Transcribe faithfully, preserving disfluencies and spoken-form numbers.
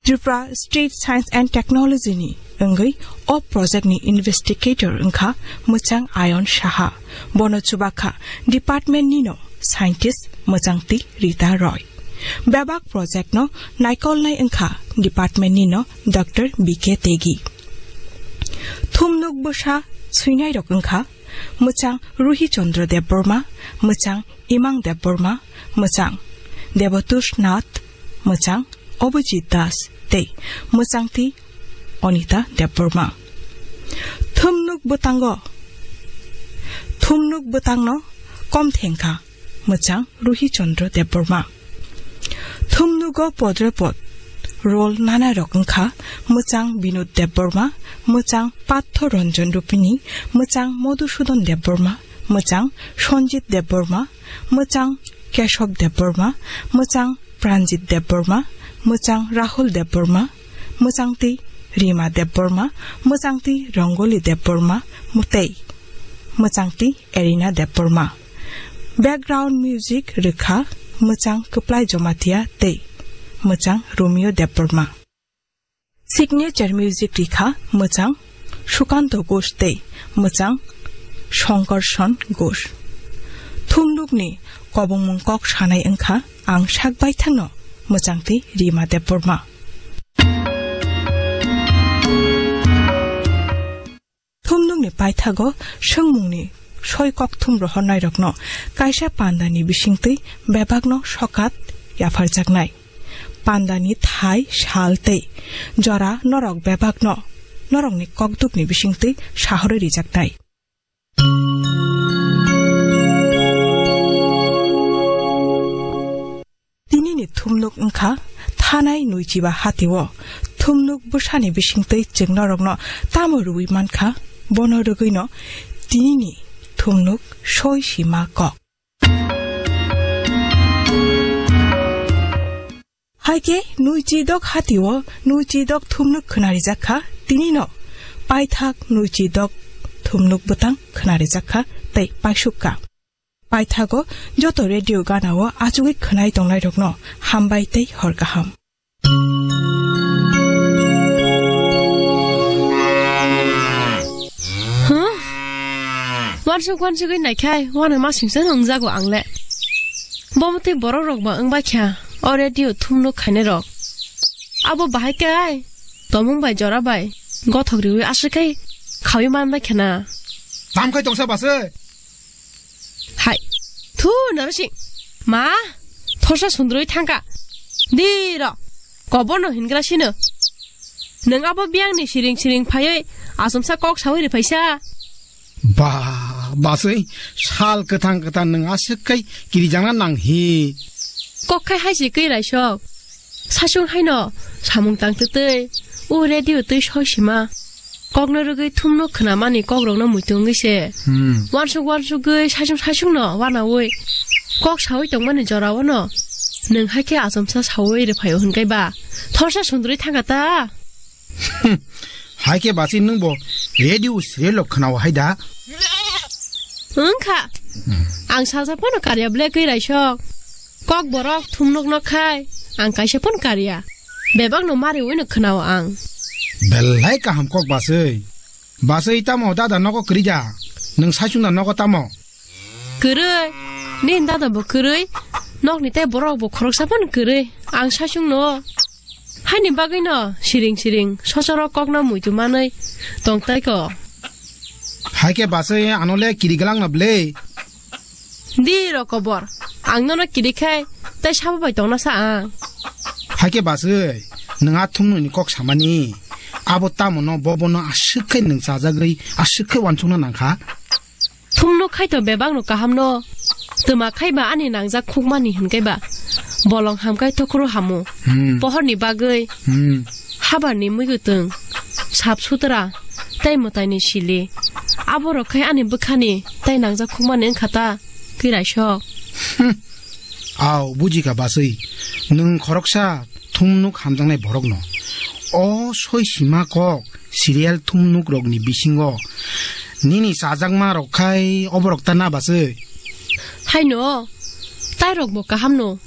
Tripura State Science and Technology ni wngwi o project ni investigator wngkha mwchang Ayon Saha. Bono chubakha department nino scientist mwchangtwi Rita Roy. Bebak project no naikolnai wngkha department nino Doctor B K Tegi. Thumnuk bwsa swinairok wngkha mwchang Ruhi Chandra Debbarma, mwchang Imang Debbarma, mwchang Debatush Nath, mwchang Abhijit Das tei mwchangtwi Anita Debbarma. Thumnuk bwtango, thumnuk bwtangno kom thengkha mwchang Ruhi Chandra Debbarma. Thumnugo podre pod role nanairok wngkha mwchang Binod Debbarma, mwchang Patho Ranjan Rupini, mwchang Madhusudan Debbarma, mwchang Sanjit Debbarma, mwchang Keshav Debbarma, mwchang Pranjit Debbarma, mwchang Rahul Debbarma, mwchangtwi Rima Debbarma, mwchangtwi Rangoli Debbarma, mwtei mwchangtwi Erina Debbarma. Background music rwkha mwchang Kwplai Jamatia tei mwchang Romeo Debbarma. Signature music rikha mwchang Sukanto Ghosh tei mwchang Sankarshan Ghosh. Thumnukni kobongmung kok sanai wngkha ang sak baithangno mwchangtwi Rima Debbarma. Thumnukni paithago swngmungni soi kokthum rohornairokno kaisa pandani bisingtwi bebakno sokat yapharjaknai. Pandani thai, sal tei jora norok bebakno norokni kokdukni bisingtwi sahorwi rijaknai. Tinini thumnuk wngkha thanai Nuichiba hatio. Thumnuk bwsani bisingtwi chwng norokno tamo rwui mankha, bono rwgwino tinini thumnuk soi sima kok. Haikhe Nuichidok hatio Nuichidok thumnuk khwnarijakha, tinino paithak Nuichidok thumnuk bwtang khwnarijakha tei paisukka. Paithago joto radio ganao achugwi khwnai tongnairokno hambai tei hor kaham. Huh? Wansuk wansugwi naikhai, wana masingsa wngjago angle. Bomo tei borok rok ba wngbai kha, o radio thumnuk khainai rok. Abo bahai kai, tomung bai jora bai, gothok riwi aswk khai khawi manbai khana. Tam khai tongsa base? Hai, thu narasi. Ma, thorsa sundrui thangka. Diro, koborno hingra sino. Nwng abo biyangni siring siring phaiwi asomsa kok sawi riphaisa. Ba, baswi sal kwthang kwthang nwng aswk khai kirijakna nang hi. Kok khai hai se kwi raisok. Sasung haino samung tang twtwi o radio twi soi sima. Kokno rwgwi thumno khwnamani kokrokno muitu wngwi se. Hmm. Wansuk wansugwi sasung sasungno wanawi kok sawi tongmani jorao no nwng hai khe achomsa sawi rwphaio hwnkhai ba thorsa sundrwi thangka ta? Hmm. Hai khe basi nwng bo radio serial rok khwnao hai da? Wngkha. Hmm. Ang salsa phano karya ble kwi raisok. Kok borok thumnok nok khai ang kaisa phano karya. Bebak no mari wino khwnao ang. Belai kaham kok baswi. Baswi tamo dada nogo kwrwi da? Nwng saichung da nogo tamo? Kwrwi. Nini dada bo kwrwi. Nokni tei borok bo khoroksa phano kwrwi. Ang saichung no. Haini bagwi no siring siring sosoro kokno muitu manwi tong tai ko. Hai khe baswi ano le kiri glang na ble. Di ro kobor. Ang nono kiri khai tei sabo bai tongna sa ang. Hai khe baswi nwng a thumnwi ni kok samani. Abo tamo no bobo no aswk khai nwng chajagwi aswk khai wansukna nang kha. Thumno khai to bebak no kaham no. Twma khai ba ani nangjak khukmani hwn kai ba. Bolong ham khai tokhro hamo. Hmm. Pohor ni bagwi. Hmm. Habar ni mui gutwng. Sap sutra. Tei mwtai ni sili. Abo rok khai ani bwkha ni. Tei nangjak khukmani wngkha ta. Kwiraisok. Hmm. Au, bujikha baswi. Nwng khoroksa thumnuk hamjaknai borokno. O soi sima kok serial thumnuk rokni bisingo nini chajakma rok khai oborok ta na baswi? Haino, tai rok bo kaham no.